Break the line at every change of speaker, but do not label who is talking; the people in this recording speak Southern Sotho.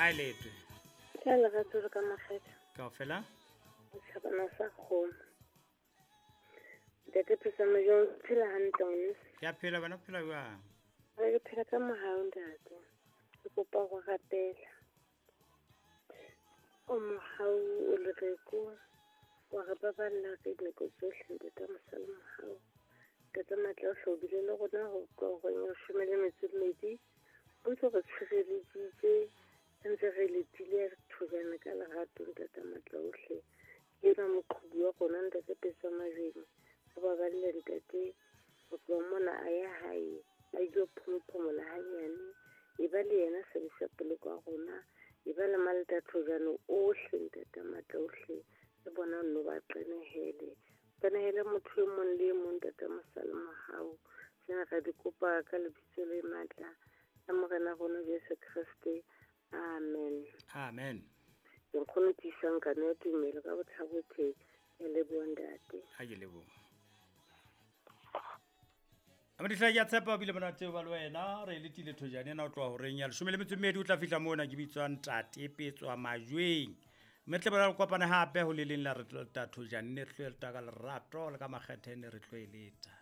A e letwe.
Ka lerato le ka makgetha.
Kaofela.
Setjhabana sa kgomo. Ntate Phetsa Majweng, o phela hantle ngwaneso?
Ke a phela, wena o phela jwang?
Re phela ka mohau ntate. Ke kopa go rapela. O mohau o lereko wa re baballa ka dinako tsohle ntate mosa le mohau. Ntate matla o hle o bile le rona ho tloha horeng ya leshome le metso e mmedi. O ntse re tshireleditse re ntse re letile re thojana ka lerato ntate matla ohle. Ke enwa moqhubu wa rona ntate Petsa Majweng. O baballe ntate ho tloha mona a ya hae a ilo phomophomola hanyane. E ba le yena sebesa poloko ya rona. E ba le maleta thojane ohle ntate matla ohle. Le bona nno ba qenehele. Qenehele motho e mong le e mong ntate mosa le mohau. Tsena ra di kopa ka lebitso le matla la Morena rona Jesu Kreste. Amen.
Amen.
Ke nkgono tiisang kano ya tumelo ka botlhabothe. Ke leboha ntate.
Ha ke leboha. Amadihla ke a tshepa o bile monate ba le wena re letile thojane ena o tloha horeng ya leshome le metso e mmedi o tla fihla mona ke bitswa ntate Petswa Majweng. Mme tle bona re kopane hape ho le leng la re tlo leta thojane ne re tlo leta ka lerato le ka makgethe ne re tlo e leta.